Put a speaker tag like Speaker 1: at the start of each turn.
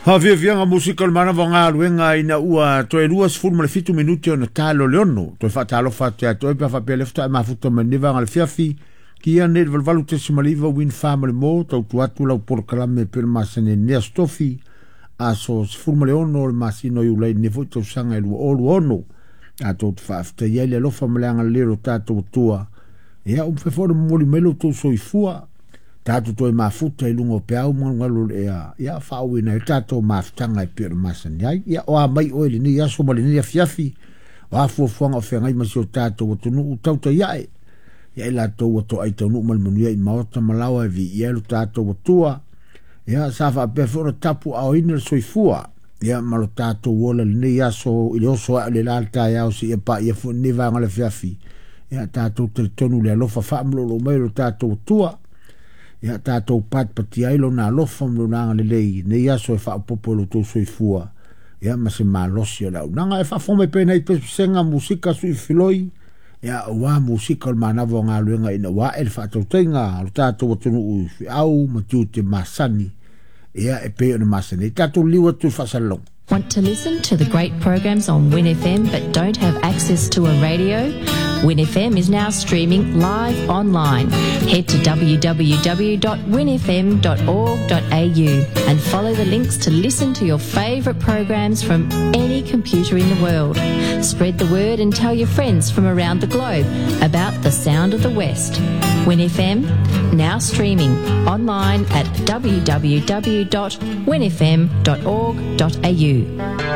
Speaker 1: Faafiafiaga musika o le manava o galuega ina ua toe 27 minute ona talo le 6. Toe faatalofa atu ia te oe pe a faapea lea faatoa e mafuta mai lenei vaega o le afiafi. Kia nei le 88.9 Win 4 ma le mo, tautua atu lau polokalame e pei ona masani ai lenei Aso Tofi, aso 16 o le masina o Iulai lenei foi tausaga e 2026. Tatou te faafetaia ai le alofa ma le agalelei o lo tatou Atua. Ia, ua mafai foi ona momoli mai lo outou soifua. Tatou toe mafuta i luga o peau ma galugalu o le ea, ia faaauauina ai le tatou mafutaga e pei ona masani ai. Ia, o a mai oe i lenei aso ma lenei afiafi, o a fuafuaga o feagai ma si o tatou atunuu, tautai ae, ia i latou ua toai taunuu ma le manuia i maota ma laoa e viia ai lo tatou Atua. Ia, sa faapea foi ona tapuaaoina le soifua, ia ma lo tatou ola i lenei aso i le oso ae o le la le taeao seia paia foi lenei vaega o le afiafi. Ia, tatou talitonu i le alofa faamaloulou mai o lo tatou Atua. Ia, tatou patipatia ai lona alofa ma lona agalelei i lenei aso e faaopoopo i lo outou soifua, ia ma se malosi o le auaunaga. E faafofoga mai pea nai pesepesega, musika, sui filoi, ia aua musika o le manava o galuega ina ua ae le faatautaiga a lo tatou atunuu i feau ma tiute masani, ia e pei ona masani ai. Tatou liliu atu i le faasalalauga.
Speaker 2: Want to listen to the great programs on Win FM but don't have access to a radio? Win FM is now streaming live online. Head to www.winfm.org.au and follow the links to listen to your favourite programs from any computer in the world. Spread the word and tell your friends from around the globe about the sound of the West. Win FM, now streaming online at www.winfm.org.au.